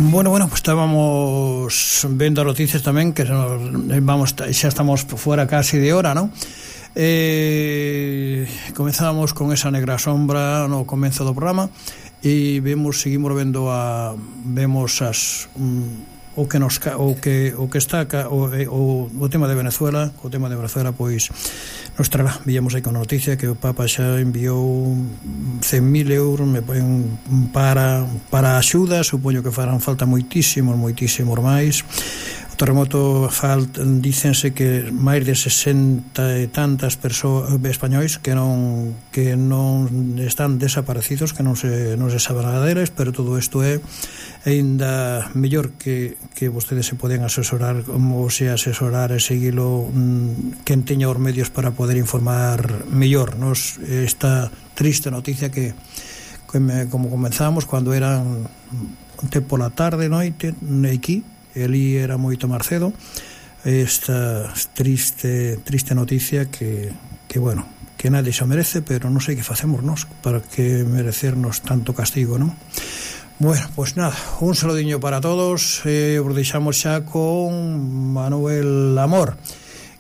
Bueno, pues estábamos vendo noticias tamén que xa estamos fora casi de hora, non? Comezábamos con esa negra sombra no comezo do programa e seguimos vendo vemos as o que está o tema de Venezuela. O tema de Venezuela, pois nos trará, víamos aí con a noticia que o Papa xa enviou 100.000 euros para axuda. Supoño que farán falta moitísimos máis. O terremoto dícense que máis de 60 e tantas persoas españois que non están desaparecidos, que non se sabe nada deles, pero todo isto é ainda mellor que vostedes se poden asesorar, como se asesorar e seguilo quen teña os medios para poder informar mellor. Esta triste noticia que como comenzamos cando eran pola tarde, noite aquí, ali era moito máis cedo, esta triste noticia que bueno, que nadie se merece, pero non sei que facemos nós para que merecernos tanto castigo, non? Bueno, pues nada, un saludiño para todos. Os deixamos xa con Manuel Amor,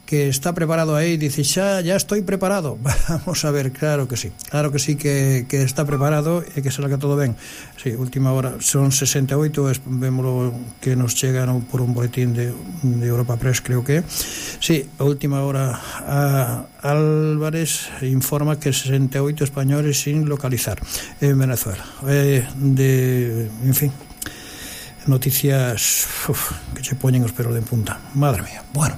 que está preparado aí, dice ya estoy preparado. Vamos a ver, claro que sí que está preparado e que será que todo ben. Sí, última hora, son 68, vemos que nos chegan por un boletín de Europa Press, creo que sí, a última hora Álvarez informa que 68 españoles sin localizar en Venezuela. En fin, noticias que se poñen os pelos de punta, madre mía. Bueno,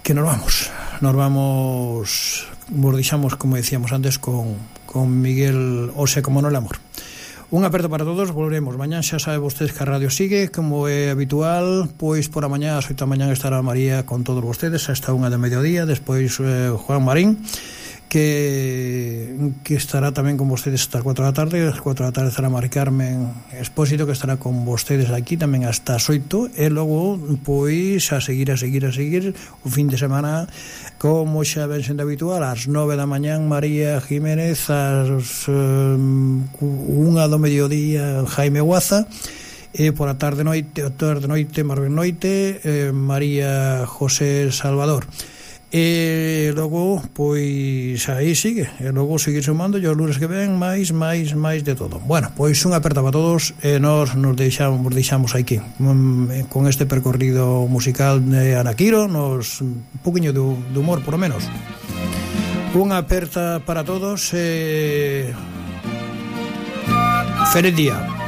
que nos vamos, deixamos, como decíamos antes, con Miguel, como Manuel Amor. Un aperto para todos, volveremos mañán, xa sabe vostedes que a radio sigue, como é habitual, pois por a mañá, ás 8 da mañán estará María con todos vostedes, hasta 1 de mediodía, despois Juan Marín, que estará tamén con vostedes hasta as 4 da tarde. As 4 da tarde estará Mari Carmen Expósito, que estará con vostedes aquí tamén hasta as 8, e logo pois a seguir o fin de semana, como xa ven sendo habitual, ás 9 da mañán María Jiménez, ás 1 do mediodía Jaime Guaza, e por a tarde noite Marben Noite, María José Salvador. E logo, pois aí sigue, e logo seguir sumando e os lunes que ven máis de todo. Bueno, pois un aperta para todos, e nos deixamos aquí con este percorrido musical de Ana Quiro, un poquinho de humor, por lo menos. Un aperta para todos, feliz día.